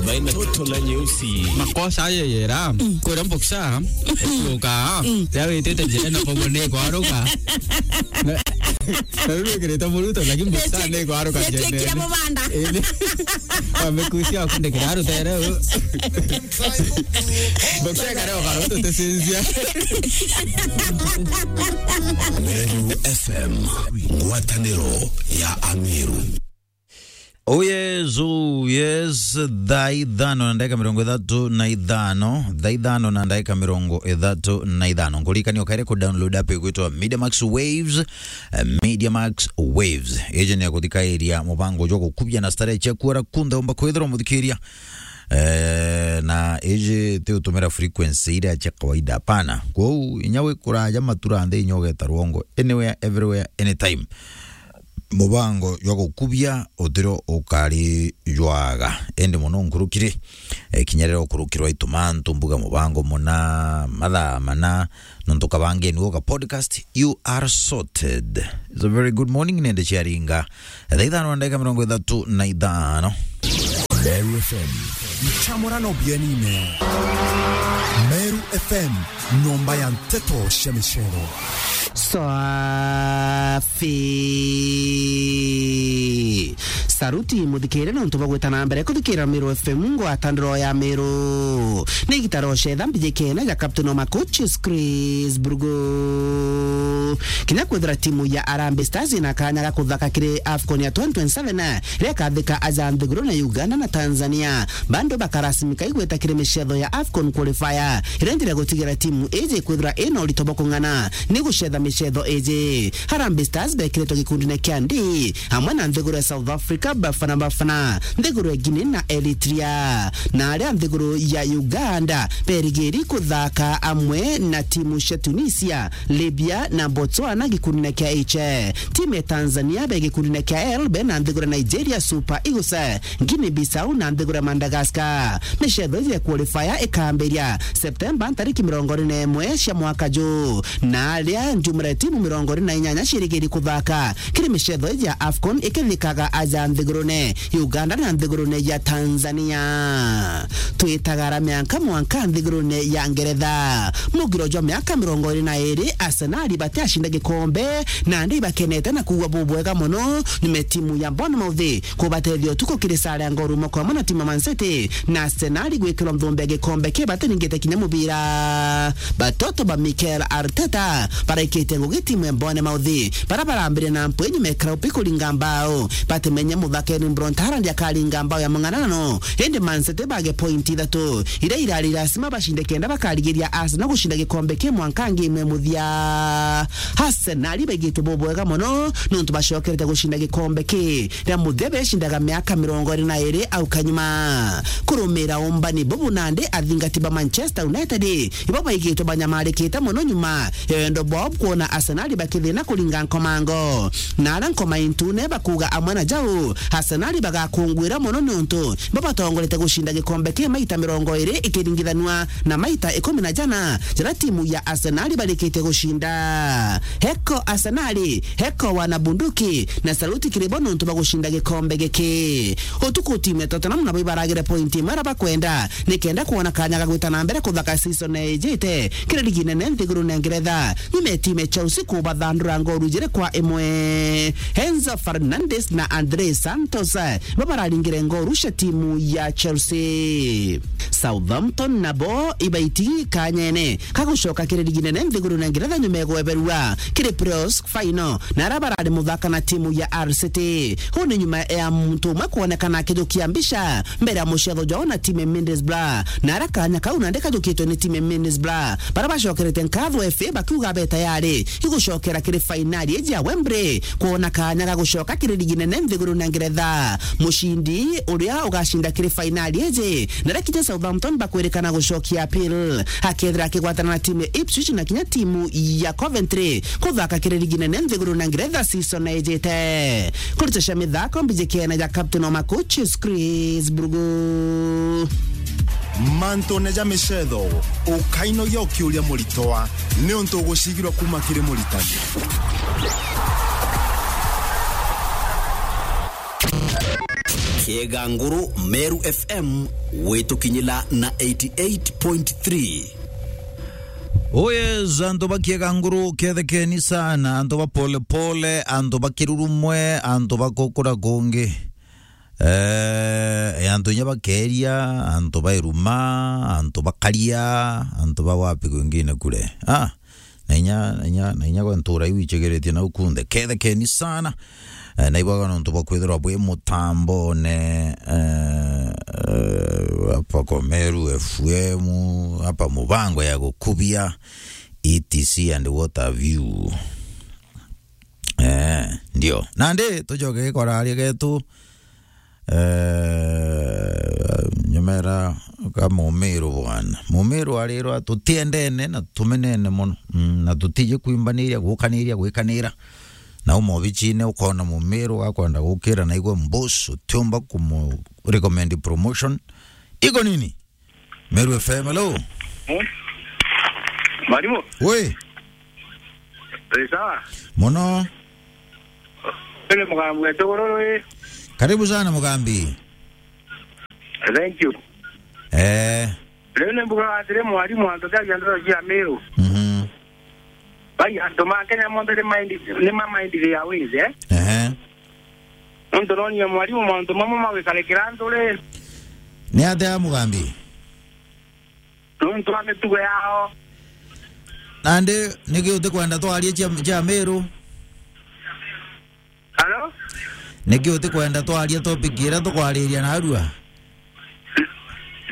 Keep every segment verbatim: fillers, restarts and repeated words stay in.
Baina toto na nyeusi. Makosa ayo yera. Kwira mboksa. Kuruka. Yawitite njira na kogo ni kwaruka. Na na riu wikirite muruto, lakini mboksa ni kwaruka njira. Amekusia kundikira rutere. Mboksa kare okaro tutesinzia. Meru F M, ngwataniro ya Ameru. Oh yes, oh yes, thaa ithano na ndagika mirongo ithatu na ithano, thaa ithano na ndagika mirongo ithatu na ithano. Nkuririkania ukaire ku download app igwitwa Media Max Waves, eh, Media Max Waves. Iji ni ya kuthikairia mubango jwa gukubia na starehe cia kuara kunthe umba kwithirwa muthikiria. Eh, na iji ti utumira frequency iria cia kawaida, hapana. Kwou inya wi kuraja matura nthi inya ugeta rwongo, anywhere, everywhere, anytime. Mubango jwa gukubia utiro ukari jwaga. Indi mono nkurukiri, eh, kinya riria ukurukirwa itu mantu mbuga mubango muna mathaa mana, nontu kabangeni uga podcast, you are sorted. It's a very good morning, nende ciaringa thaa ithano na ndagika mirongo ithatu na ithano. Meru F M. Nchamurano bienine. Meru F M, nyomba ya nteto cia micero. Safi. Saruti muthikire nontu bwa gwita na mbere kuthikira Meru F M, ngwatandiro ya Meru. Ni gitaro cetha mbijikene ja Captain wa Makuchis Chris Burgo. Kinya kwithira timu ya Harambee Stars ina kanya ga kuthaka kiri AFCON ya twenty twenty-seven, iria ikathika aja nthiguru na Uganda na Tanzania, bado bakarasimika igweta kiri micetho ya AFCON qualifier, iria njira gutigira timu iji kwithira ina urito bwa kung'ana ni gucetha micetho iji. Harambee Stars bekiritwe gikundine kia D, amwe na nthiguru ya South Africa, Bafana Bafana, nthiguru ya Guinea na Eritrea. Na aria nthiguru ya Uganda berigiri kuthaka amwe na timu cia Tunisia, Libya na Botswana gikundine kia H. Timu ya Tanzania be gikundine kia L be na nthiguru ya Nigeria, Super Eagles, Guinea Bissau na nthiguru ya Madagascar. Micetho iji ya qualifier ikambiria Septemba ntariki mirongo iri na imwe cia mwaka ju. Na aria njumura timu mirongo iri na inyanya cirigiri kuthaka kiri micetho iji ya AFCON ikithikaga aja nthigurune Uganda na nthigurune ya Tanzania. Twitaga ara mianka mwanka nthigurune ya Ngeretha. Mugiro jwa miaka mirongo iri na iri, Arsenal batiacinda gikombe, na ndi bakenete na kuugwa bubwega mono, nyuma timu ya Bournemouth kubatethia utuku kiri sare ya ngoo rumwe kwa mwe na timu ya Man City, na Arsenal gwikirwa nthumbe ya gikombe ki batiningite kinya mubira. Batoto ba Mikel Arteta baraikitie ngugi timu ya Bournemouth, bara barambire na mpu inyuma ya Kraupi kuringa mbao. Batimenya muthakeni Bront Haaland akaringa mbao ya mung'anano, indi Man City bage pointi ithatu iria irari lasima bacinde kenda bakarigiria Arsenal gucinda gikombe ki mwanka ngi imwe muthia. Arsenal baigitwe bubwega mono nontu bacokerete gucinda gikombe ki ria muthia becindaga miaka mirongo iri na iri au kanyuma. Kurumira umbani bubu nandi, athingati ba Manchester United ibo baigitwe banyamarikite mono nyuma ya wendo bwao kwona Arsenal bakithina kuringa nkomango. Na aria nkoma intune bakuuga amwe na jau, Arsenal bagakunguira mono niuntu bo batongorete gucinda gikombe ki maita mirongo iri ikiringithanua na maita ikumi na jana jaria timu ya Arsenal barikitie gucinda. Heko Arsenal, heko wana bunduki, na saluti kiri bo nontu bwa gucinda gikombe giki. Utuku timu ya Tottenham nabo ibaragire pointi imwe iria bakwenda nikenda kwona kanya ga gwita na mbere kuthaka season ijite kiri ligi nene nthigurune ya Ngeretha, nyuma ya timu ya Chelsea kubathandura ngoru jiri kwa imwe. Enzo Fernandez na Andrey Santos bo bararingire ngoru cia timu ya Chelsea. Southampton nabo ibaitigi kanyene ka gucoka kiri ligi nene nthigurune ya Ngeretha nyuma ya gweberua kiri playoffs final, na aria barari muthaka na timu ya Hull City. Huu ni nyuma ya muntu umwe kwonekana akijukia mbica mbere ya mucetho jwao na timu ya Middlesbrough, na aria kanya kau nandi kajukitwe ni timu ya Middlesbrough, baria bacokerete nkatho F A bakiuga be tayari igucokera kiri fainali iji ya Wembley kwona kanya ga gucoka kiri ligi nene nthigurune ya Ngeretha. Mucindi uria ugacinda kiri fainali iji, na rikinya Southampton bakwirikana gucokia appeal, akethira akigwatana na timu ya Ipswich na kinya timu ya Coventry kuthaka kiri ligi nene nthigurune ya Ngeretha season ijite. Kurita cia mithako mbijikene ja captain wa Makuchis Chris Burgo. Mantune ja micetho, ukainogia ukiuria muritoa niuntu ugucigirwa kuma kiri muritani. Kieganguru, Meru F M, gwitukinyila na eighty-eight point three. Oh yes, antu ba Kieganguru, kethekeni sana, antu ba Polepole, antu ba Kirurumwe, antu ba kukura kungi. Eh, antu inya ba Keria, antu ba Iruma, antu ba Karia, antu ba wapi kwingine kule. Ah, na inya, na inya, na inya gwe ntura iu ichegeretie nau kunthe. Kethekeni sana. Eh, na ibwaga nontu bwa kwithirwa bwi mutambone, eh, eh, hapa kwa Meru F M, hapa mubango ya gukubia, E T C and what have you. Eh, ndio. Nandi, tucoke kwa raria getu. Eh, nyumera ka Mumiru bwana. Mumiru arirwa tutiendene na tumenene mono. Mm, na tutiji kwimbaniria, gukaniria, gwikanira. Na umo obichine ukona Mumiru akwenda gukira na igwe mbusu, utiumba kumu recommend promotion. Iko nini? Meru F M, hello. Eh? Mwalimu? Oi. Ri sawa? Mono. Ri Mugambi wetu Gururu, ri? Karibu sana, Mugambi. Thank you. Eh. Riu ni mbugaga atiri, mwalimu, antu thagia ndeto cia Meru. Mhm. Bai, antu ma Kenya monthe ni mind, ni ma mind ya wizi, eh? Ehe. Nontu nonie mwalimu, mauntu mamwe magwikarikira antu ri. Ni atia, Mugambi? Nontu wa mitugo yao. Nandi, niki utikwenda twarie cia, cia Meru? Hello? Niki utikwenda twarie topic iria tukwariria narua?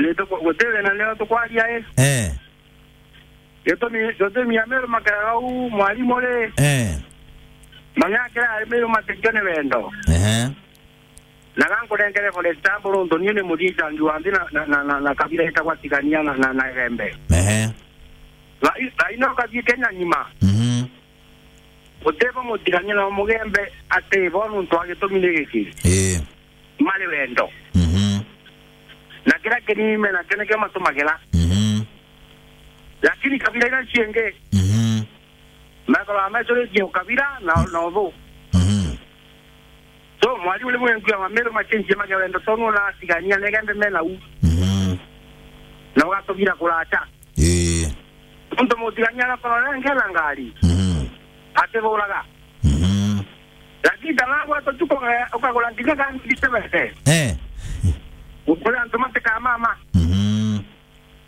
Ni tuku-, guti thina, nio tukwaria, i? Eh. Gitumi, gitumi Ameru makaraga uu, mwalimu ri? Eh. Mang'akira Ameru matikio ni wendo. Ehe. Na gankurengere for example, nontu nie ni muthiicangi wa nthi na, na, na, na, na kabira itagwa Tigania na, na, na Igembe. Ehe. Rai, rai no kathii Kenya ng'ima. Mhm. Gutibo Mutigania na Mugembe atibo nontu wa gitumi ni giki. Ii. Mari wendo. Mhm. Na kiria kinini me nakio nikio matumagira. Mhm. Lakini kabira iria ciingi, mhm, mekoragwa mecuritie ukabira na, na uthu. Mhm. So, mwalimu ni mwendia wa Meru machenjie mage wendo, tondu ona Tigania na Igembe mena u. Mhm. Na ugatubira kuracha. Ii. Nontu Mutigania agakorwo arengera ngari. Mhm. Atiburaga. Mhm. Lakini tana gwetu tu uka-, ukagura nginya gari nditebete. Eh. Ukuri antu matikamama. Mhm.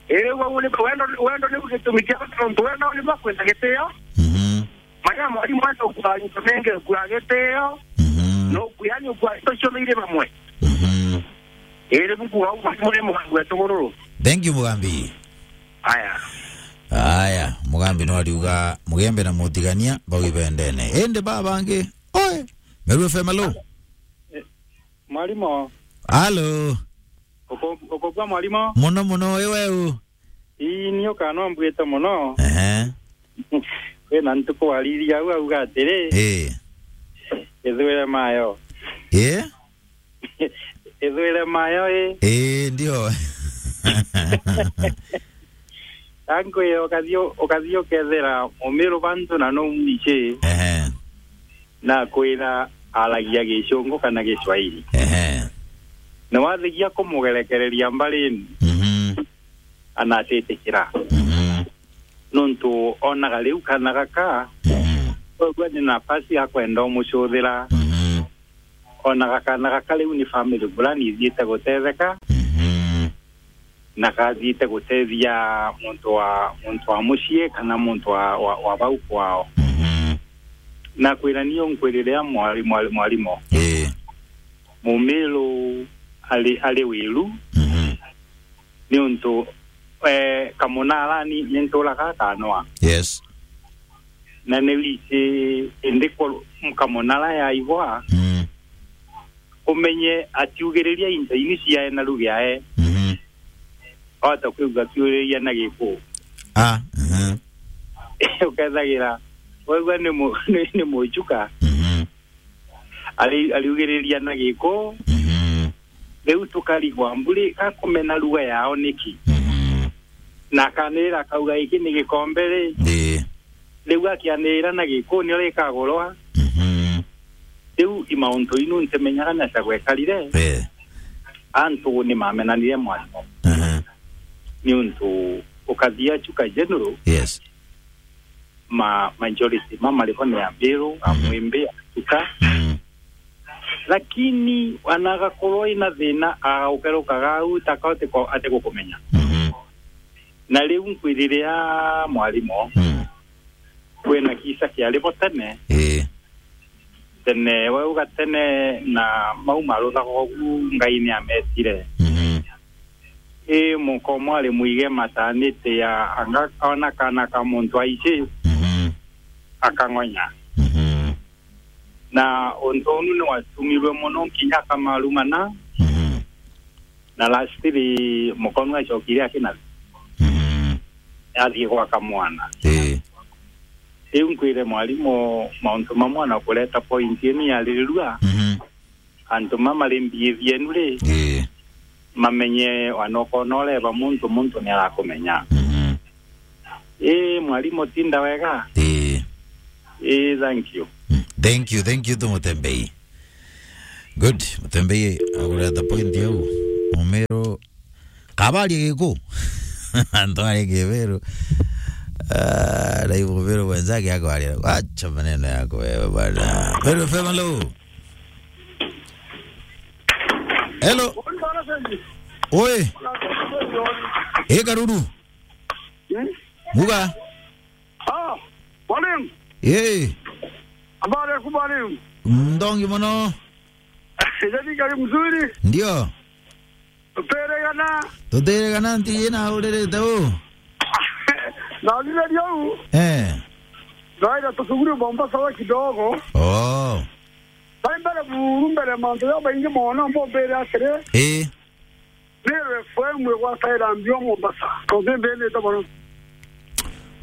Iri, riu au ni wendo, wendo ni gitumi kia bata, nontu wendo ni bwa kwenda gitio. Mhm. Manya mwalimu wenda ukua into mengi, ukua gitio. Mhm. No ukua, yani ukua into cionthe iri bamwe. Mhm. Iri, riu kuga au mwalimu ni Mugambi wetu Gururu. Thank you, Mugambi. Aya. Aya, Mugambi no ariuga Mugembe na Mutigania bau ibendene. Indi baba bangi, oe, Meru F M, alo? Eh, mwalimu. Alo? Uko-, ukobua mwalimu? Muno muno, wi weu? Ii, ni ukanombwite muno. Ehe. Kwina ntuku waririria au auga atiri, ii, ithwire mayo. Ii? Ithwire mayo, ii. Ii, ndio. Ankwire ukathii, ukathii ukethira Mumiru bantu na no mwichi. Ehe. Nakwira aragia Gicungu kana Giswahili. Ehe. Na wathigia kumugerekereria mbarini, mhm, anatitikira. Mhm. Nontu onaga riu kana gaka, mhm, kwegua ni nafasi ya kwenda umucuthira. Mhm. Onaga kana gaka riu ni family fulani ithiite gutetheka. Mhm. Na gathiite gutethia muntu wa, muntu wa mucii kana muntu wa, wa, wa bau kwao. Mhm. Nakwira ni unkwirire mwari-, mwari-, mwarimu. Ii. Mumiru ari, ari wiru. Mhm. Niuntu, eh, Kamunara ni, ni nturaga Kanwa. Yes. Na ni wiji indi ku-, Kamunara yaigwa, mm, umenye atiugiriria into ini ciae na rugi ae. Mhm. Wahota kwigua akiuriria na Gikuu. Ah, mhm. Ukethagira, waigua ni mu-, ni, ni muchuka. Mhm. Ari-, ariugiriria na Gikuu. Mhm. Riu tukarigwa mburi gakumena ruga yao niki? Mhm. Na akanirira akauga, "Giki ni gikombe ri?" Ii. Riu akianirira na Gikuu nio rikagurwa. Mhm. Riu i mauntu inu ntimenyaga na cia gwekarire. Ii. Antu ni mamenanire mwarimu. Aha. Ni untu ukathia Chuka General, Yes. ma majority ma maribo ni Ambiru, Mhm. Amwimbi, Achuka. Mhm. Lakini anagakorwo ina thina, aukerukaga au, taka ati ko-, ati gukumenya. Mhm. Na riu nkwiriria mwarimu, Mhm. kwina kisa kiari bo tene. Ii. Tene, we uga tene na mau maruthagwa ugu, Ngai ni ametire. Mhm. Ii, muka umwe ari mwige mataniti ya anga ona kana ka muntu aici, Mhm. akang'onya. Mhm. Na untu unu ni watumirwe mono nkinya akamarumana. Mhm. Na lastly, muka unu acokire akina Mhm. athie gwaka mwana. Ii. Riu nkwire mwarimu, mauntu mamwe na kureta point inu yaririrua, Mhm. antu ma mari mbithi yenu ri, Ii. mamenye, wana ukona ureba muntu, muntu ni arakumenya. Mhm. Ii, mwarimu, tinda wega. Ii. Ii, thank you. Mm. Thank you, thank you to Mutembei. Good. Mutembei agureta point au. Mumero Kabaria giku. Antu ari kiberu. Ah, na hivyo kiberu mwenzake yako alia. Acha maneno yako wewe bwana. Beru F M, hello. Hello. Oi. E Karuru. Hmm? Muga. Ah, mwalimu. Eh. Habari yako mwalimu? Ndongi mono. Jadi kali mzuri. Ndio. Tuteregana. Tuteregana nti ina uririte u. Na lile liu. Eh. Naenda tusuguri Mombasa wa kidogo. Oh. Bai mbere buru mbere mantu ya baingi mono mbo mbere atiri. Eh. Meru F M igwataira mbio Mombasa. Tontu mbene tabona.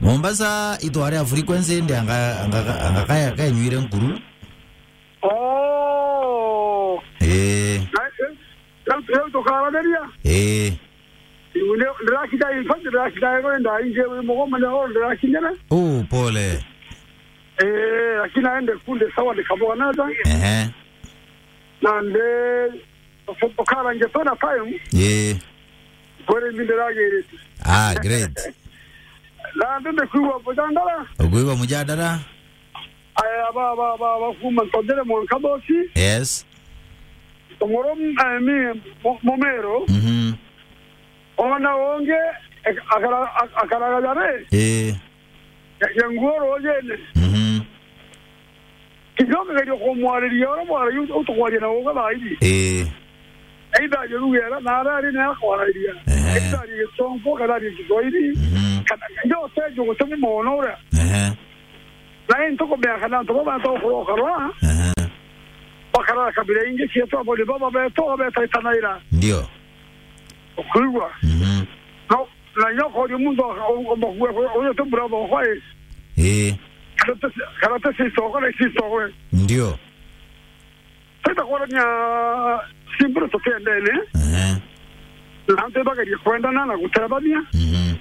Mombasa itware a frequency ndi anga, anga, anga kaya kanyuire nkuru. Oh. Eh. Na, eh, leo, leo tukaraniria. Eh. Ndio, ndirakinya, in fact, ndirakinya ego ndaingi wi mugoma na oro ndirakinyire. Oh, pole. Eh, lakini aende kunde sawa nikaboga nata. Ehe. Na nde, tukarange tona time. Eh. Kwere minde ragirite. Ah, great. Na nde nde kuwa bujandara. Ukuigua mujadara? Aya, ba, ba, ba, ba, kuma Ntondere mwanka Bosi. Yes. Umurum-, eh, mi, mu-, Mumero. Mhm. Ona ungi, ek-, akara-, ak-, akaraga jare. Eh. Ya, ya nguo rujene. Mhm. Kidogo kageria kumwariria, ora mwariria utukwaria na uga thairi. Eh. Either aje lugha iria na aria ari nayo akwararia. Ehe. Either arie Gitongo kana arie Kiswahili. Mhm. Kana ndio utejo gutemu mono uria. Ehe. Na into kumenya kana antu baba antu kuroka rwa. Ehe. Bakarara kabira ingi cietu abo ni baba betu betaitanaira. Ndio. Ukuigua? Mhm. No, na nyoko ni muntu ugomba kuwa uyo tu brother kwa. Eh. Karate, karate si soko na si soko. Ndio. Tenda kuonania simple tutendene. Ehe. Na antu bagerie kwendana na gutethania. Mhm.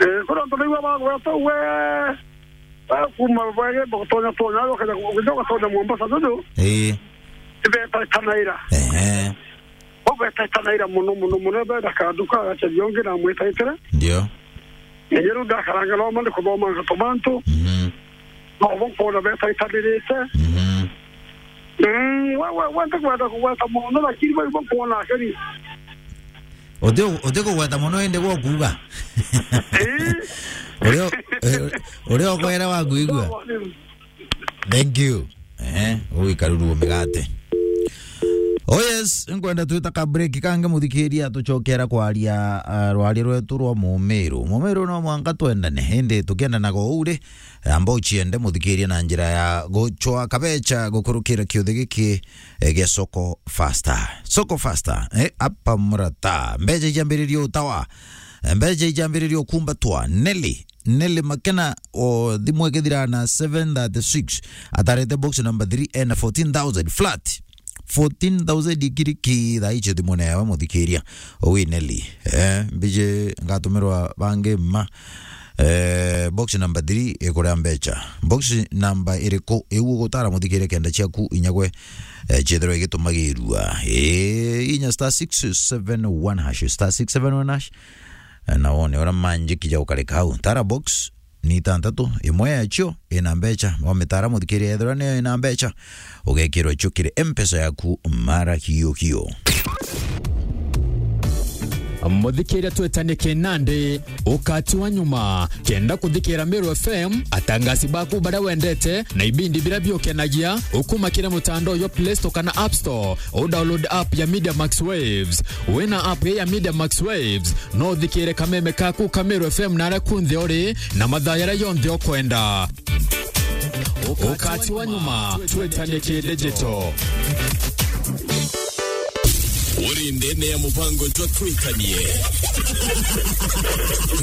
Eh, kura antu baigua bagweta we, we kuma bwege botonya tonya, ukaja ku-, ukaja gatonya Mombasa, jojo. Eh. Ibeta itanaira. Ehe. Obeta itanaira muno, muno, muno, benda kanduka, agacaria ungi na mwetaitire. Ndio. Enye riu ndakaranga no mande kuthoma ngato bantu. Mhm. No bo nkwona betaitanirite. Mhm. Mm, we, we, we ntikwenda kugweta mono, lakini we, we nkwona akeri. Uti, uti kugweta mono indi gwa kuuga. Eh? Uria, eh, uria ukwera wa kuigua. Sawa, ni- Thank you. Eh, ui Karuru migate. Oh yes, nkwenda twita ka break kange muthikiria tucokera kwaria, ah, rwari rwetu rwa Mumiru. Mumiru no mwanka twendane, indi tukiendanaga uu ri, amba uciende muthikiria na njira ya gucwa kabecha gukurukira kiuthi giki, eh, gia Soko Faster. Soko Faster, eh, apa murata. Mbecha ijambiririe utawa. Mbecha ijambiririe ukumbatwa. Nelly, Nelly Makena o thimu ikithira na seven thirty-six. Atarete box number three ena fourteen thousand flat. Fourteen thousand ikiriki thaa icio thimune yawe muthikiria. Owi Nelly. Eh, mbije ngatumirwa bangi mma. Eh, box number three ikuria mbecha. Box number iriku iu ugutara muthikire kenda ciaku inyagwe, eh, ciethirwa igitumagirua? Eh, inya star six seven one hash, star six seven one hash. Eh, na wone uria manjiki ja ukarika hau. Tara box ni itantatu, imwe yacio ina mbecha. Wamitara muthikire ethirwa niyo ina mbecha, ugekirwa cio kiri M-Pesa yaku mara hiyo hiyo. Muthikiria twetanie kinandi, ukati wa nyuma. Kenda kuthikira Meru F M, atangasi baku baria wendete na ibindi biria biukenagia, ukuma kiri mutandao jwa Play Store kana App Store, udownload app ya Media Max Waves. Wina app ya Media Max Waves, no uthikire kameme kaku ka Meru F M na aria kunthe uri na mathaa jaria jonthe ukwenda. Ukati wa nyuma, twetanie ki digital. Uri ndene ya mubango jwa Twikanie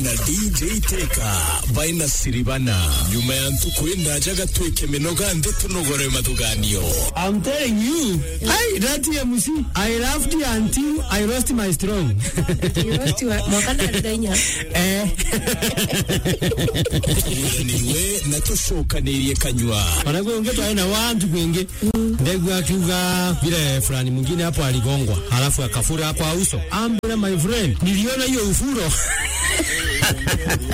na D J Teka by Nasiribana. Nyuma ya ntuku indaja gatwike minoga nthi tunogore mathuganio. I'm telling you, hey, that M C, I laughed until I lost my strong. You lost your, mwaka na ndenya. Eh. Tukuruganiwe na tucokanirie kanyua. Wanakuwa unge twae na wantu kwingi. Ndegwa akiuga vile fulani mwingine hapo aligongwa, halafu akafura kwa uso. Ambira, my friend, niliona hiyo ufuro.